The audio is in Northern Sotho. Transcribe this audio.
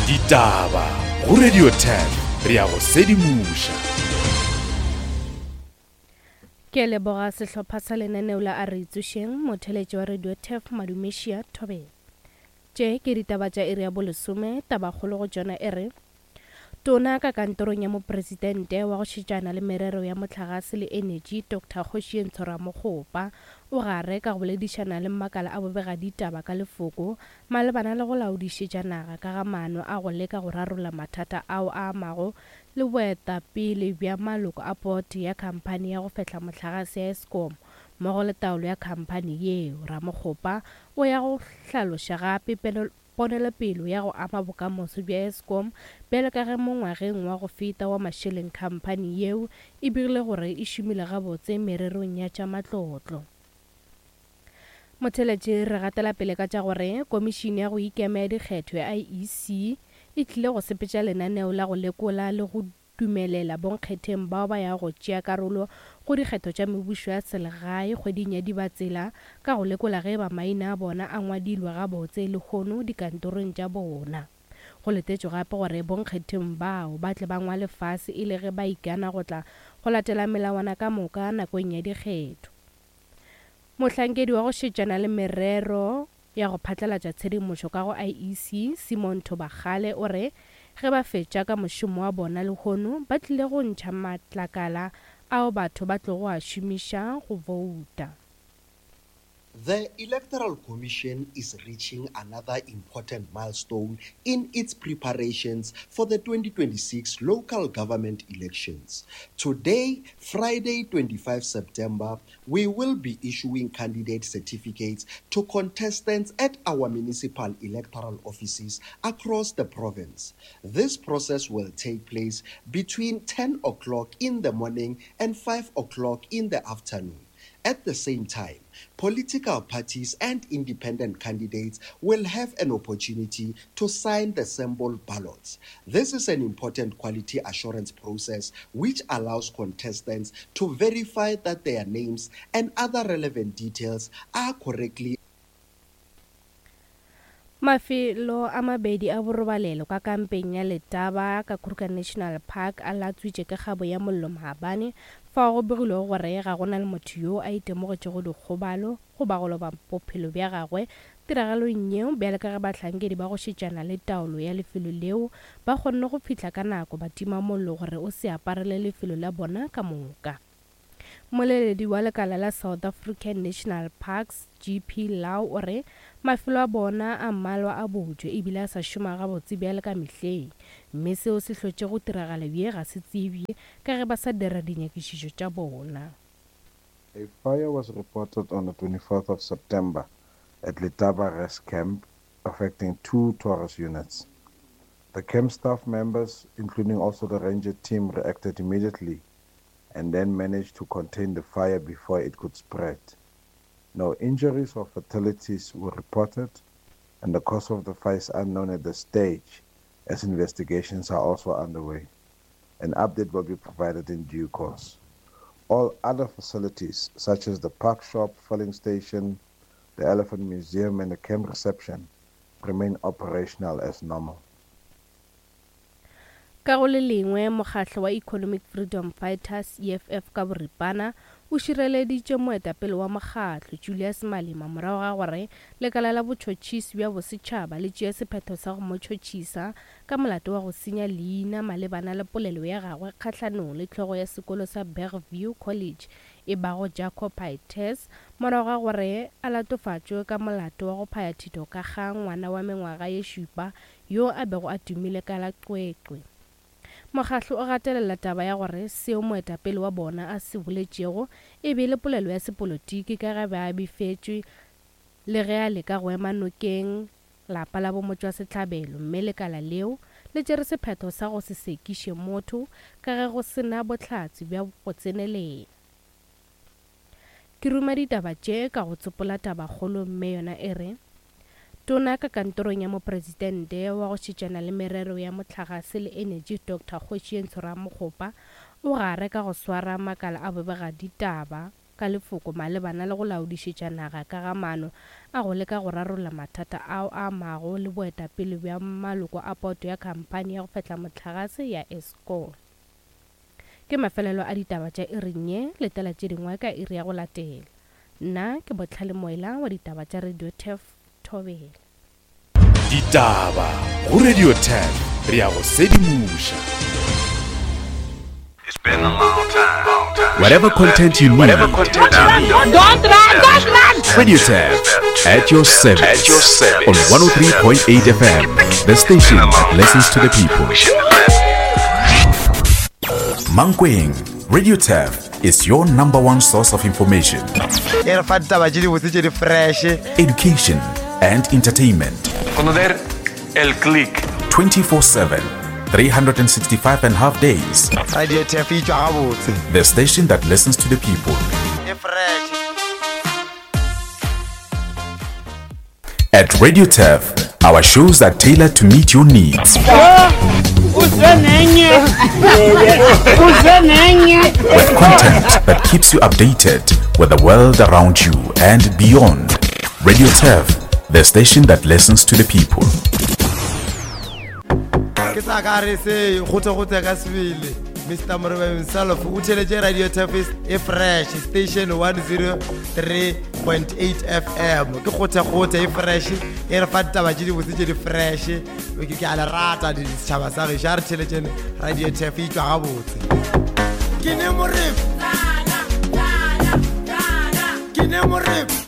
Ditaba go Radio 10 re ya go sedimoša. Ke a leboga sehlopha sa lenaneo la A Re Itsošeng, motheeletši wa Radio Turf Madumešia Thobela. Tše ke ditaba tša iri ya bolesome, tabakgolo go tšona e re, Tona ka kantorong ya Mopresidente wa go šetšana le merero ya mohlagase le enetši Doctor Kgošientsho Ramokgopa o gare ka go boledišana le makala a bobegaditaba ka lefoko malebana le go laodišetša naga ka ga maano a go leka go rarolla mathata ao a amago le boetapele bja maloko a pote ya khamphani ya go fehla mohlagase ya Eskom mmogo le taolo ya khamphani yeo. Ramokgopa o ya go hlaloša gape Ponelopele ya go ama bokamoso bja Eskom bjalo ka ge mo ngwageng wa go feta wa mašeleng khamphani yeo e begile gore e šomile gabotse mererong ya tša matlotlo. Motheeletši re gatela pele ka tša gore Komišene ya go Ikema ya Dikgetho ya IEC e tlile go sepetša lenaneo la go lekola le go dumelela bonkgetheng bao ba yago go tšea karolo go dikgetho tša mebušo ya selegae kgweding ya Dibatsela ka go lekola ge eba maina a bona a ngwadilwe gabotse lehono dikantorong tša bona. Go letetšwe gape gore bonkgetheng bao ba tle ba ngwale fase e le ge ba ikana go tla go latela melawana ka moka nakong ya dikgetho. Mohlankedi wa go šetšana le merero ya go phatlalatša tshedimošo ka go IEC, Simon Thobakgale o re ge ba fetša ka mošomo wa bona lehono ba tlile go ntšha matlakala ao batho ba tlogo a šomiša go bouta. The Electoral Commission is reaching another important milestone in its preparations for the 2026 local government elections. Today, Friday, 25 September, we will be issuing candidate certificates to contestants at our municipal electoral offices across the province. This process will take place between 10 o'clock in the morning and 5 o'clock in the afternoon. At the same time, political parties and independent candidates will have an opportunity to sign the sample ballots. This is an important quality assurance process which allows contestants to verify that their names and other relevant details are correctly Mafelo a mabedi a borobalelo ka kampeng ya Letaba ka Kruger National Park a latswitše ke kgabo ya mollo maabane fao go begilwego gore ga go na le motho yo a itemogetšego dikgobalo goba go loba bophelo bja gagwe tiragalong yeo bjale ka ge bahlankedi ba go šetšana le taolo ya lefelo leo ba kgonne go fihla ka nako ba tima mollo gore o se aparele lefelo la bona ka moka. Mmoleledi wa lekala la South African National Parks, GP Louw o re mafelo a bona a mmalwa a botšwe ebile a sa šoma gabotse bjale ka mehleng mme seo se hlotšego tiragalo ye ga se tsebje ka ge ba sa dira dinyakišišo tša bona. A fire was reported on the 24th of September at Letaba Rest Camp affecting two tourist units. The camp staff members, including also the ranger team, reacted immediately and then managed to contain the fire before it could spread. No injuries or fatalities were reported, and the cause of the fire is unknown at this stage, as investigations are also underway. An update will be provided in due course. All other facilities, such as the park shop, filling station, the Elephant Museum, and the camp reception, remain operational as normal. Ka go le lengwe, mokgatlo wa Economic Freedom Fighters, EFF ka boripana, o šireleditše moetapele wa mokgatlo, Julius Malema morago ga gore lekala la botšhotšhisi bja bosetšhaba le tšee sephetho sa go mo tšhotšhisa ka molato wa go senya leina malebana le polelo ya gagwe kgahlanong le hlogo ya sekolo sa Bergview College e bago Jaco Pieterse morago ga gore a latofatšwe ka molato wa go phaya thito ka ga ngwana wa mengwaga ye šupa yo a bego a tumile ka la Cwecwe. Mokgahlo o gatelela taba ya gore seo moetapele wa bona a se boletšego e be e le polelo ya sepolotiki ka ge be a befetšwe le ge a leka go ema nokeng lapa la bomotšwasehlabelo mme lekala leo le tšere sephetho sa go se sekiše motho ka ge go se na bohlatse bja go tsenelela. Ke ruma ditaba tše ka go tsopola tabakgolo mme yona e re, Tona ka kantorong ya Mopresidente wa go šetšana le merero ya mohlagase le enetši Doctor Kgošientsho Ramokgopa o gare ka go swara makala a bobegaditaba. ka lefoko malebana le go laodišetša naga ka ga maano a go leka go rarolla mathata ao a amago le boetapele bja maloko a poto ya khamphani ya go fehla mohlagase ya Eskom. Ke mafelelo a ditaba tša iring ye, letela tše dingwe ka iri ya go latela. Nna ke Bohlale Moela wa ditaba tša Radio Turf Thobela. Ditaba go Radio Turf, re a go sedimoša. Whatever content you need. Don't run, don't run! Radio Turf at your service. At your service. On 103.8 FM, the station that listens to the people. Mankweng, Radio Turf is your number one source of information, e re fa ditaba tše dibotse tše di fresh education, and entertainment. Conocer el click. 24 7, 365 and a half days. Radio Turf e tšwa gabotse The station that listens to the people. e fresh At Radio Turf, our shows are tailored to meet your needs. With content that keeps you updated with the world around you and beyond. Radio Turf, the station that listens to the people. Ke sa ka re se gote-gote ka sebele Mr Morebe himself o theletše Radio Turf e fresh station 103.8 FM ke gote-gote e fresh e re fa ditaba tše dibotse tše di fresh ke a le rata setšhaba sa gešo a re theletšene Radio Turf e tšwa gabotse ke ne morebe ke ne morebe.